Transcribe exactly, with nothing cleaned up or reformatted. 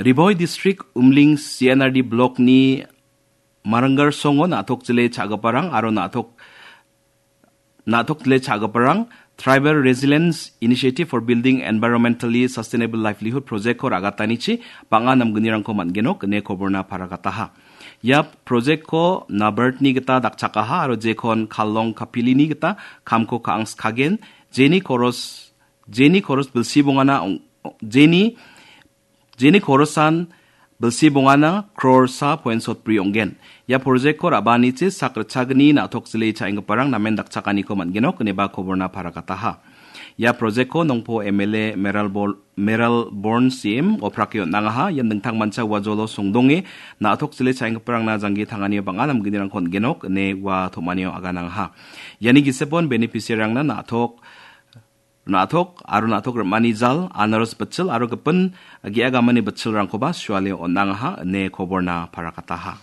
Ri Bhoi District Umling C N R D Block-ni Marangar Songo na·tok jile cha·giparang aro na·tok, na·tok jile cha·giparang Tribal Resilience Initiative for Building Environmentally Sustainable Livelihood Project-ko ra·gatanichi bang·a namgnirangko man·genok ine koborna paragataha. Ia project-ko NABARD-ni gita dakchakaha aro jekon Kallong Kapilini gita kamko ka·angskagen, jeni koros, jeni koros bilsi bongana ong-, jeni Jeni korosan bilsi bongana crore sa point sotbri ong·gen. Ia project-ko ra·baanichi sak ritchagni na·tok jile cha·enggiparang namen dakchakaniko man·genok ineba koborna paragataha. Ia project-ko Nongpo M L A Meral Bol-, Meral Born C M oprake on·angaha. Ian dingtangmancha ua jolo songdonge na·tok jile cha·enggiparangna janggi tanganio bang·a namgnirangko on·genok ine ua tom·anio aganangaha. Iani gisepon beneficiary-rangna na·tok na·tok aro na·tok rim·ani jal, anaros bitchil aro gipin ge·a gamani bitchilrangkoba suale on·angaha ine koborna paragataha.